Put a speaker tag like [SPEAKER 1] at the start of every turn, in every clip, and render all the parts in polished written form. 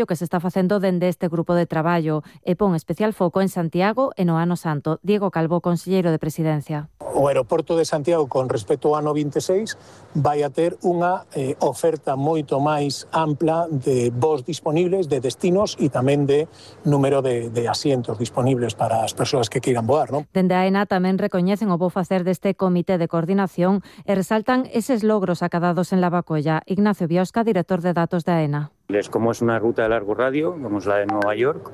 [SPEAKER 1] o que se está facendo dende este grupo de traballo e pon especial foco en Santiago e no ano santo. Diego Calvo, conselleiro de Presidencia.
[SPEAKER 2] O aeroporto de Santiago, con respecto ao ano 26, vai a ter unha oferta moito máis ampla de voos disponibles, de destinos e tamén de número de asientos disponibles para as persoas que queiran voar, non?
[SPEAKER 1] Dende a AENA tamén recoñecen o bo facer deste comité de coordinación e resaltan eses logros acadados en Lavacolla. Ignacio Biosca, director de datos da AENA.
[SPEAKER 3] Como es una ruta de largo radio, como es la de Nueva York,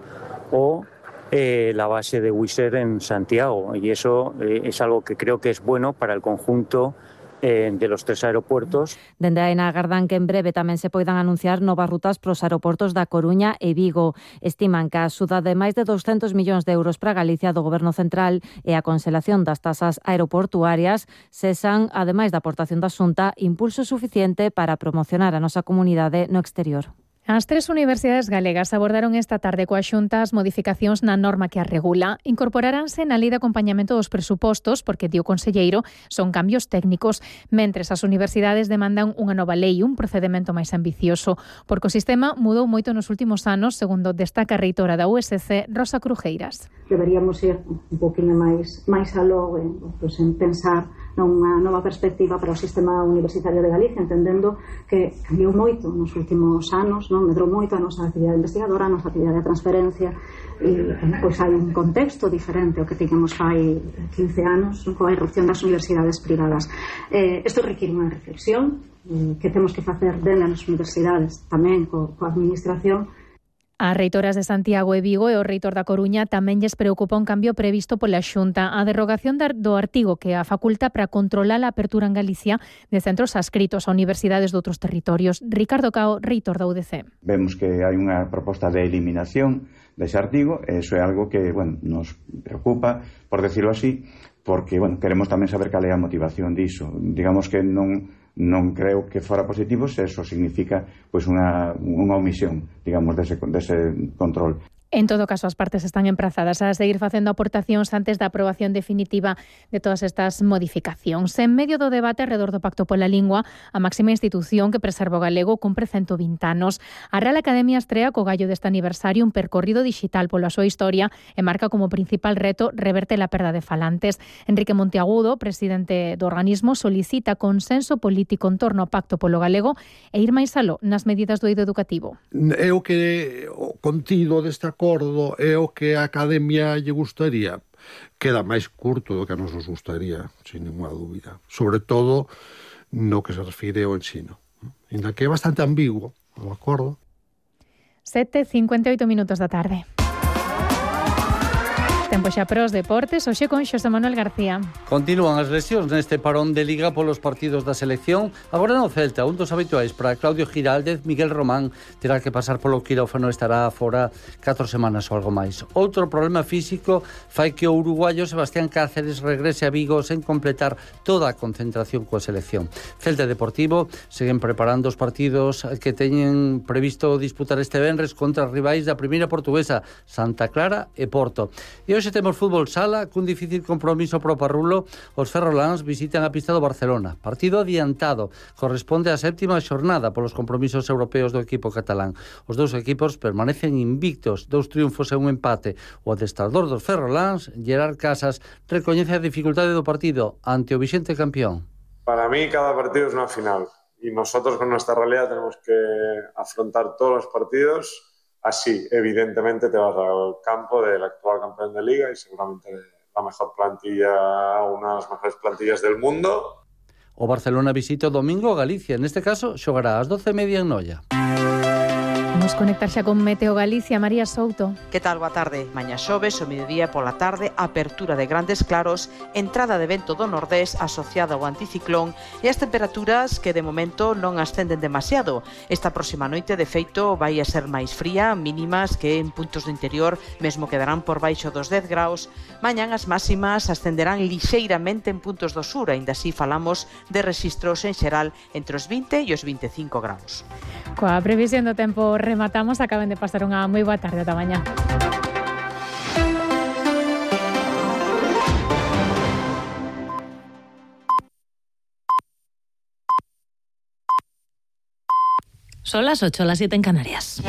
[SPEAKER 3] o la base de Wizz Air en Santiago, y eso es algo que creo que es bueno para el conjunto de los 3 aeropuertos.
[SPEAKER 1] Dende a AENA agardan que en breve tamén se poidan anunciar novas rutas para os aeroportos da Coruña e Vigo. Estiman que a axuda de máis de 200 millóns de euros para Galicia do Goberno Central e a conselación das tasas aeroportuarias cesan, ademais da aportación da Xunta, impulso suficiente para promocionar a nosa comunidade no exterior.
[SPEAKER 4] As 3 universidades galegas abordaron esta tarde coa Xunta as modificacións na norma que a regula. Incorporaranse na Lei de Acompañamento dos Presupostos, porque, di o conselleiro, son cambios técnicos, mentres as universidades demandan unha nova lei, un procedemento máis ambicioso, porque o sistema mudou moito nos últimos anos, segundo destaca a reitora da USC, Rosa Crujeiras.
[SPEAKER 5] Deberíamos ir un poquinho máis aló en pensar nunha nova perspectiva para o sistema universitario de Galicia, entendendo que cambiou moito nos últimos anos, non medrou moito a nosa actividade investigadora, a nosa actividade de transferencia, e pois hai un contexto diferente ao que tiñamos fai 15 anos coa irrupción das universidades privadas. Isto require unha reflexión que temos que facer dentro das universidades, tamén coa administración.
[SPEAKER 4] As reitoras de Santiago e Vigo e o reitor da Coruña tamén lles preocupa un cambio previsto pola Xunta, a derrogación do artigo que a faculta para controlar a apertura en Galicia de centros adscritos a universidades de outros territorios. Ricardo Cao, reitor da UDC.
[SPEAKER 6] Vemos que hai unha proposta de eliminación dese artigo, e iso é algo que, nos preocupa, por decirlo así, porque, queremos tamén saber cal é a motivación diso. Digamos que non creo que fora positivo se eso significa unha omisión, digamos, dese control.
[SPEAKER 4] En todo caso, as partes están emprazadas a seguir facendo aportacións antes da aprobación definitiva de todas estas modificacións. En medio do debate alrededor do Pacto pola Lingua, a máxima institución que preserva o galego cumpre 120 anos. A Real Academia estrea co gallo deste aniversario un percorrido digital pola súa historia e marca como principal reto reverter a perda de falantes. Enrique Monteagudo, presidente do organismo, solicita consenso político en torno ao Pacto polo Galego e ir máis aló nas medidas do eido educativo.
[SPEAKER 7] É o que o contido deste acordo é o que a Academia lle gustaría. Queda máis curto do que a nos gustaría, sin ninguna dúbida. Sobre todo no que se refire ao ensino. Ainda que é bastante ambiguo o acordo.
[SPEAKER 4] 7:58 minutos da tarde. Tempo xa para os deportes, hoxe con Xosé Manuel García.
[SPEAKER 8] Continúan as lesións neste parón de Liga polos partidos da selección. Agora no Celta, un dos habituais para Claudio Giraldez, Miguel Román terá que pasar polo quirófano e estará fora 4 semanas ou algo máis. Outro problema físico fai que o uruguayo Sebastián Cáceres regrese a Vigo sen completar toda a concentración coa selección. Celta e Deportivo seguen preparando os partidos que teñen previsto disputar este venres contra os rivais da primeira portuguesa, Santa Clara e Porto. E hoxe temos fútbol sala, cun difícil compromiso pro Parrulo. Os ferroláns visitan a pista do Barcelona. Partido adiantado, corresponde á 7ª xornada polos compromisos europeos do equipo catalán. Os dous equipos permanecen invictos, 2 triunfos e un empate. O adestrador dos ferroláns, Gerard Casas, recoñece a dificultade do partido ante o vixente campeón.
[SPEAKER 9] Para mí cada partido es una final y nosotros con nuestra realidad tenemos que afrontar todos los partidos. Así, evidentemente, te vas al campo del actual campeón de Liga y seguramente la mejor plantilla, una de las mejores plantillas del mundo.
[SPEAKER 8] O Barcelona visita o domingo Galicia. Neste caso, xogará ás 12:30 en Noia.
[SPEAKER 4] Vamos conectar xa con Meteo Galicia, María Souto.
[SPEAKER 10] Que tal? Boa tarde. Mañá xoves, o mediodía pola tarde, apertura de grandes claros, entrada de vento do nordés asociada ao anticiclón e as temperaturas que de momento non ascenden demasiado. Esta próxima noite, de feito, vai a ser máis fría, mínimas que en puntos do interior mesmo quedarán por baixo dos 10 graus. Mañán as máximas ascenderán lixeiramente en puntos do sur, aínda así falamos de rexistros en xeral entre os 20 e os 25 graus.
[SPEAKER 4] Coa previsión do tempo rematamos, acaben de pasar unha moi boa tarde ata mañá.
[SPEAKER 11] Son las 8, las 7 en Canarias.